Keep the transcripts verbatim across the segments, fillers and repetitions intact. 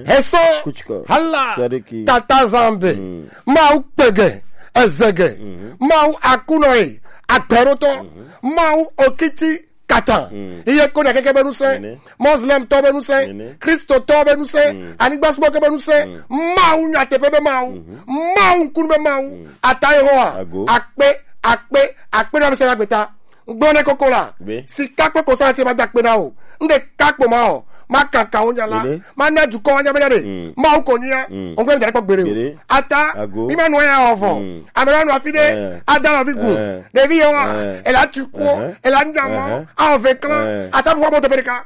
Hesɔ. Kuchikɔ. Hala. Sadiki. Tata Zambe. Mm. Mawu kpege. Ezege. Mhm. Mawu akunɔe. Akpɛrotɔ. Mhm. Mawu okiti kata. Mm. Iye ko na keke be nusẽ. Nene. Muslim tɔ be nusẽ. Nene. Kristo tɔ be nusẽ. Mm. Anigba sumɔ ke be nusẽ. Mm. Mawu nyateƒe be Mawu. Mhm. Mawu ŋkunu be Mawu. Mm. Ata Yehowa. Ago. Akpe, akpe, akpe na be se na gbeta. Gblɔ ne koko la. Be. Sika kple kɔsa se ma da kpe na o. N ɖeka kpo ma o. Ma kaka wo nya la. Ene. Ma na dukɔ wa nya be na de. Mm. Ma wo ko nya. Mm. O gbe mi da kpɔ gbere o. Gbere. Ata. Ago. Mi ma nɔ ya o vɔ. Mm. Ame la nɔ afi de. Eh. Ada la fi gu. Eh. Ɖevi ye wa. Eh. Ela tu ko. Eh. Ela nya mɔ. Eh. A o ve klan. Eh. Ata fo mo to be ka.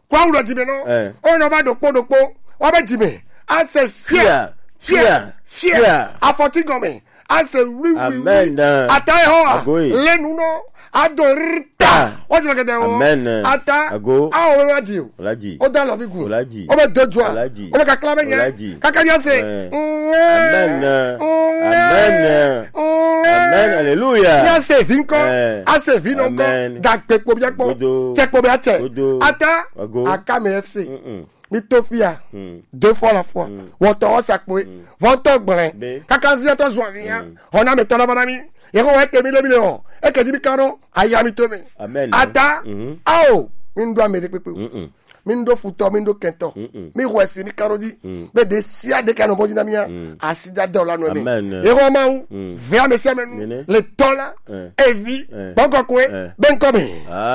Kura wulɔ dzi me nɔ. Eh. O nɔ va ɖokpo ɖokpo. Wa be dzi me. A se fia. Fia. Fia. Fia. Fia. Afɔti gɔme. A se wi, wi, wi. Amen. Ata ye hɔ. Agoe. Le nu nɔ. A do rita. Ah. O jɔ kete o. Amen. Ata. Ago. A o be wa dzi o. Ola dzi. O da lɔ bi gu. Ola dzi. O be do jua. Ola dzi. O be kakla be nya. Ola dzi. Kaka nya se. Eh. Mm. Amen. Mm. Amen. Mm. Amen. Hallelujah. Nya se vi nkɔ. Eh. A se vi nɔ nkɔ. Amen. Da kpe kpo bia kpɔ. Godo. Tse kpo bia tse. Godo. Ata. Ago. Akame F C. Mm-mm. Mi to fia. Mm. Deux fois la foi. Mm. Wɔtɔ wɔ sakpoe. Mm. Wɔtɔ gblẽ. Be. Kaka ziatɔ zua via. Mm. Hɔna me tɔna bana mi. Yeko wɔ eke mi le mi le o. Eke di mi karo. Aya mi to mi. Amen. Ata. Mhm. Ao. Mi ndo ame de pepe. Mm-mm. Mi ndo futɔ, mi ndo kɛntɔ. Mm-mm. Mi wɔ si mi karo di. Mm. Be de sia de kano bɔdi na mi ya. Mm. Asida dɔ la no mi. Amen. Yeko ma u. Mm. Vea me sia me nu. Nene. Le tɔla. Eh. Evi. Eh. Bɔkɔ kue. Eh. Bɛnkɔ mi. Ah.